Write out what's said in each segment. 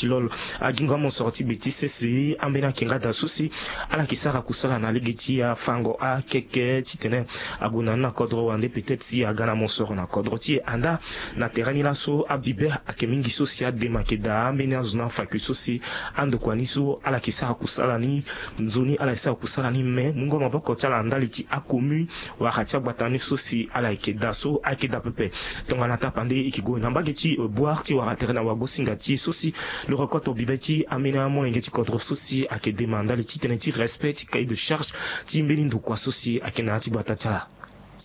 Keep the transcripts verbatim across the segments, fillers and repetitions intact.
Lolo agingo amosoro ti gbe ti sese ambeni ayeke nga daa so si ala yeke sara kusala na lege ti afango akeke titene ague na ni na kodro wande peut-être si aga na mosoro na kodro ti e anda. Na tere ni laso abibe ayeke mingi so si adema ayeke daa ambeni azo ni afa kue so si andokua ni so ala yeke sara kusala ni nzoni ala yeke sara kusala ni me mungo maboko ti ala ndali ti acommune wala ti agbata ni so si ala yeke daa so ayeke daa pepe. Tongana tapande e yeke gue na mbage ti boire ti wara tere na wagosinga ti e so si lo rokoto bibe ti ambeni amolenge ti kodro so si ayeke dema ndali ti tene ti respect ti cahier de charge ti mbeni ndokua so si ayeke na ya ti gbata ti ala.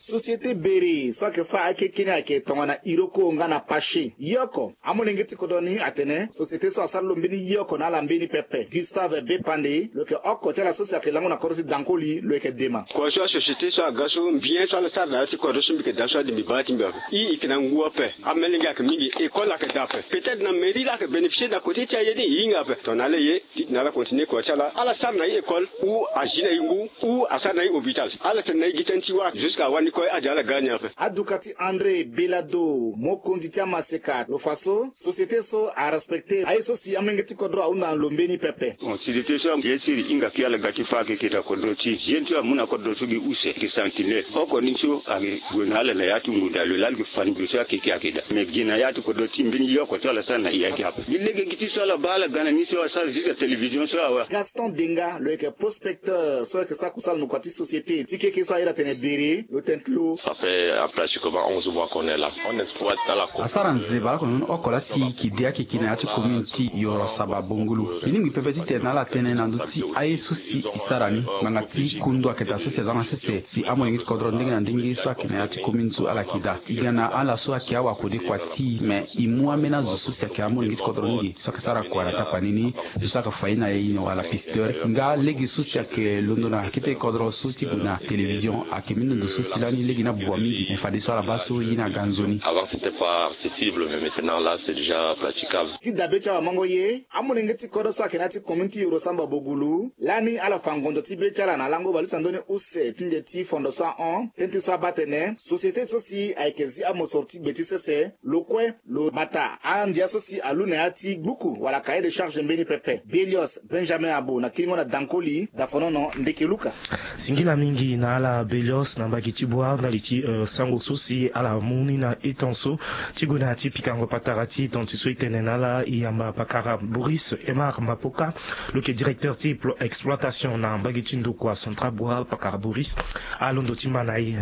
Société bere so ayeke fâ akeke ni ayeke tongana iroko nga na pache ye oko. Amolenge ti kodro ni atene société so asara lo mbeni ye oko na ala mbeni pepe. Gustave Bepande lo yeke oko ti ala so si ayeke lango na kodro ti dankoli lo yeke dema. Kozo asociété so aga so mbien so ala sara na ya ti kodro so mbi yeke daa so ade mbi baa ti mbi ape. I yeke na ngu ape. Amelenge ayeke mingi. École ayeke daa ape. Peut-être na mairie la ayeke bénéficier na côté ti aye ni e hinga ape tongana ala ye titene ala continuer kua ti ala ala sara na i école ou azi na i ngu ou asara na i hôpital. Ala tene na i gi tënë ti wâ jusqu'à wani kue ade ala ga ni ape. Aduka ti André Belado mokonzi ti amaseka lo fa so société so arespecter aye so si amolenge ti kodro ahunda na lo mbeni pepe. Bon société so bien sûr e hinga kue ala ga ti fâ akeke na kodro ti e jeune so amu na kodro so gi use gi sentinelle oko ni so ayeke gue na ala na ya ti ngu daa lo laa lo yeke fa ni gue so akeke ayeke daa mais gi na ya ti kodro ti e mbeni ye oko so ala sara na e ayeke ape gi lege gi ti so ala baa ala ga na ni so asara juste télévision so awe. Gaston Denga lo yeke prospecteur so ayeke sara kusala na kua ti société ti keke so ayeda atene bere lo tene ti lo. Ça fait en pratiquement onze mois qu'on est là. On exploite dans la commune. Asara nzeba lakue na ni oko laa si e yeke de akeke na ya ti commune ti Yoro Samba Bongolo. Mbi lingbi pepe titene na ala tene na ndö ti aye so si e sara ni ngbanga ti kundu ayeke daa so si aza na sese si amolenge ti kodro ndenge na ndenge so ayeke na ya ti commune so ala yeke daa. E ga na ala so ayeke awakode kua ti e me e mu ambeni azo so si ayeke amolenge ti kodro ni ge so ayeke sara kua na tapani ni. Zo so ayeke fa ye na e wala pisteur nga lege so si ayeke londo na kete kodro so ti gue na télévision ayeke mindondo so si lani lege ni abua mingi me fadeso ala baa so ye ni aga nzoni. Avant c'était pas accessible mais maintenant là c'est déjà praticable. Ti dabe ti awamango ye amolenge ti kodro so ayeke na ya ti commune ti Yoro Samba Bogulu lani ala fa ngondo ti be ti ala na lango bale ti andoni use ti nze ti fondo so ahon tënë ti so abaa atene société so si ayeke zi amosoro ti gbe ti sese lo kue lo bata andia so si alu na ya ti gbuku wala cahier de charge mbeni pepe. Belios Benjamin Abo na kiringo na dankoli dafonono ndeke luka. Singila mingi na ala Belios na mbage ti boire ndali ti sango so si ala mu ni na etan so ti gue na ya ti pikango patara ti tonti so e tene na ala e yamba pakara Boris Emar Mapoka lo yeke directeur ti exploitation na mbage ti ndokua central boire pakara Boris. Alondo ti ma na e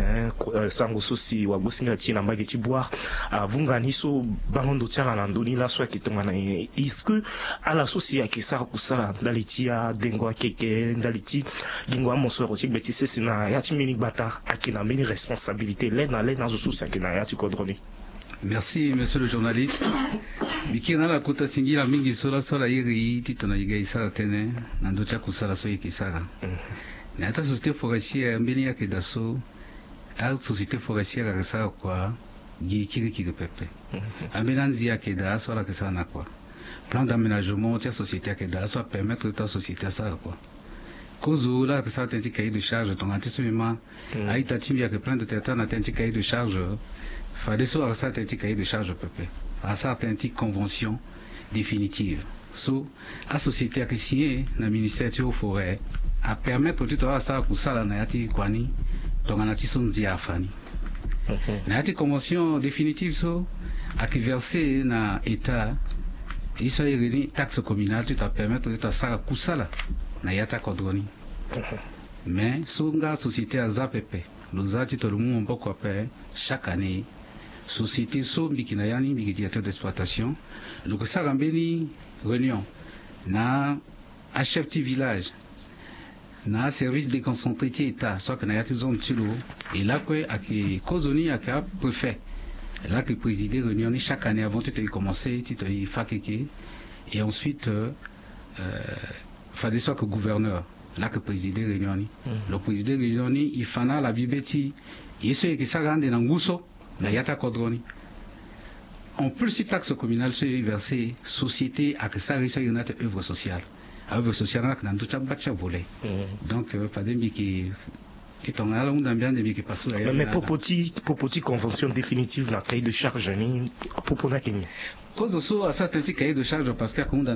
sango so si wagosinga ti e na mbage ti boire avunga ni so bango ndo ti ala na ndö ni laso ayeke tongana nyen? Est-ce que ala so si ayeke sara kusala ndali ti adengo akeke ndali ti gingo amosoro ti gbe ti sese na ya ti mbeni gbata ayeke na mbeni responsabilité le na le na azo so si ayeke na ya ti kodro ni? Merci monsieur le journaliste. Mbi kiri na ala kota singila mingi so laso ala iri e titene e ga e sara tënë na ndö ti akusala so e yeke sara na ya ti asociété forestière mbeni ayeke daa so asociété forestière ayeke sara kua gi kirikiri pepe. Ambeni anzi ayeke daa so ala yeke sara na kua. Plan d'aménagement ti asociété ayeke daa so apermettre ti asociété asara kua. Kozo laa ayeke sara tënë ti cahier de charge tongana ti so mbi ma a-ita ti mbi ayeke plaindre tene ata na tënë ti cahier de charge. Fadeso ayeke sara tënë ti cahier de charge pepe. Asara tënë ti convention définitive so asociété ayeke signé na ministère ti haut forêt apermettre ti tongana ala sara kusala na ya ti kua ni. Tongana ti so ndia afa ni na ya ti convention définitive so ayeke verser na état ye so airi ni taxe communale ti tongana permettre ti tongana sara kusala na ya ti akodro ni. Mais so nga société aza pepe lo za ti tongana lo mu maboko ape. Chaque année société so mbi yeke na ya ni mbi yeke directeur d'exploitation lo yeke sara mbeni réunion na achef ti village na aservice déconcentré ti état so ayeke na ya ti zone ti lo. E lakue ayeke kozoni ayeke apréfet laa ayeke présider réunion ni chaque année avant ti tongana e commencer ti tongana e fa keke. Et ensuite fadeso ayeke gouverneur laa ayeke présider réunion ni. Lo présider réunion ni e fa na ala bibe ti e ye so e yeke sara ande na ngu so na ya ti akodro ni. En plus ti taxe communale so e verser société ayeke sara ye so airi ni ate œuvre sociale. Aœuvre sociale ni ayeke na ndö ti agba ti avolet. Donc fade mbi yeke ti tongana ala hunda mbi ande mbi yeke passe na ya mais popo ti popo ti convention définitive na cahier de charge ni. Popo ni ayeke nyen? Kozo so asara tënë ti cahier de charge parce que ayeke hunda